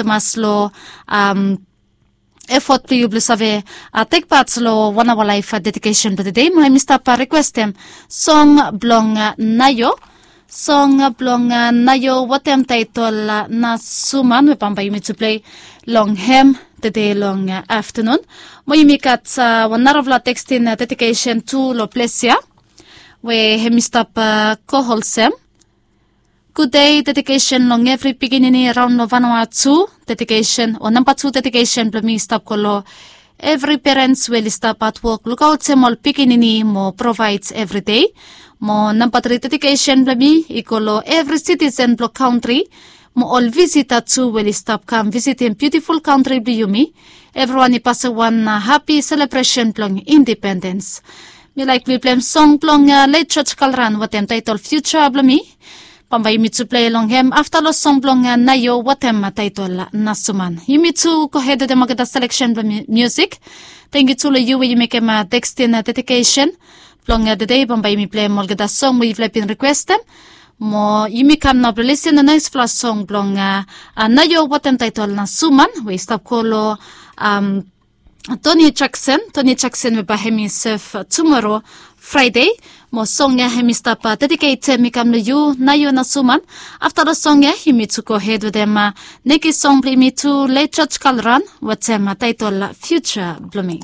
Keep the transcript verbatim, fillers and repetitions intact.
tumas long efot blong yu blong save tekpat long wan aoa laef dedikesen blong tedei. Mo hemi stap rikwestem song blong naio, song blong naio wetem taetol na suman we bambae yumi tu plei long hem tedei long aftanun. Mo yumi gat wan narafala tekstin dedikesen tu long ples ya we hemi stap go olsem. Gudei, dedikesen long evri pikinini raon long vanoa tu. Dedikesen o namba tu dedikesen blong mi i stap go long evri perens we oli stap hatwok lukaotem ol pikinini mo provaed evridei. Mo namba tri dedikesen blong mi i go long evri sitisen blong kantri mo ol visita tu we oli stap kam visitim biutiful kantri blong yumi. Evriwan i pasem wan hapi selebresen blong indipendens. Mi laek mi pleim song blong let joj kalran wetem taetol fiuja blong mi. Bambae yumi tu plei long hem afta long song blong naio wetem taetol na suman. Yumi tu gohed wetem olgeta seleksen blong miusik. Tangkiu tu long yu we yu mekem tekstin dedikesen blong tedei. Bambae yumi pleim olgeta song we yufala i bin rikwestem. Mo yumi kam nao blong lisin long naesfala song blong naio wetem taetol na suman we i stap go long toni jaksen toni jaksen we bae hem i sef tumoro fraede. Mo song ya hem i stap dediketem i kam long yu naio na suman. Afta long song ya yumi tu gohed wetem neki song blong yumi tu let joj kalran wetem taetol fiuja blong mi.